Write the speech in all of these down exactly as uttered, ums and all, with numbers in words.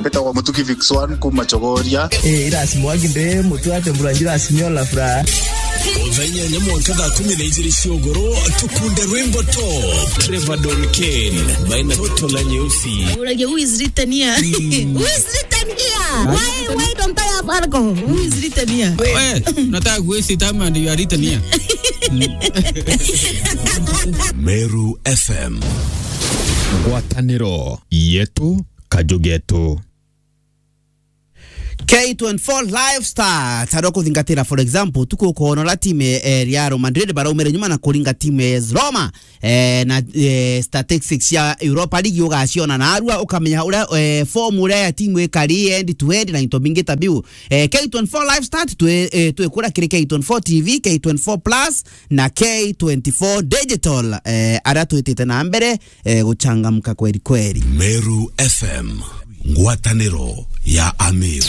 Mbetagwa Mutuki Vix one kuma Chogoria. Eh, irasi mwangi nde mutu ate mbura njira simio la fura. Thaa inyanya mwanka thaa kumi na ijiri cia ugoro, tukunde rwimbo top. Trevor Don Kane, baina toto la nyeusi. Uragia, who is written here? Who is written here? Why, why don't I have alcohol? Who is written here? Eh, nataka kuhisi time and you are written here. Meru F M. Ngwataniro yetu, kaju getu. K twenty-four Lifestyle, taro kuthingatira, for example, tuku ukoona uria timu, eh, Real Madrid baraumire nyuma na kuringa timu ya A S Roma, eh, na, eh, statistics cia Europa League ugaciona narua, ukamenya uria, eh, form uria ya timu ikari end to end na into bingi ta biu. Eh, K twenty-four Lifestyle twi, eh, twikura kiri K twenty-four T V, K twenty-four Plus na K twenty-four Digital, eh, aria twitite na mbere, eh, guchangamka kweri kweri. Meru F M, ngwataniro ya Ameru.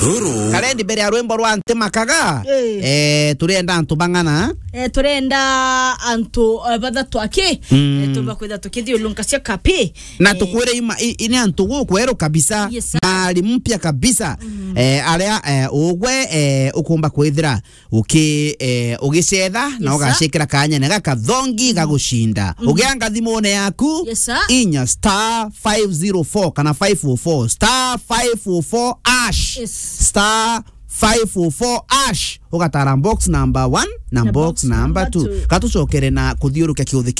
Ruru. Karendi mbere ya rwimbo rwa Ntimakaga, eh, turienda antu bang'ana. Eh, turenda antu, eh, bathatu aki, eh, tumba kwitha tukithiurunka cia kapi. Na tukwire ima, i, i ni antu gukweru kabisa, yes, sir, mari mpya kabisa. Eh, aria, eh, ugwe, eh, ukumba kwithira uki, eh, ugicetha, na ugacikira kanyene gakathongi gagucinda. Ugianga thimune yaku, yes, sir, inya star five zero four kana five oh four, star five oh four hash. Yes. Star five oh four hash. Ugatara box number one na box number two. Katucokere na kuthiurukia kiuthi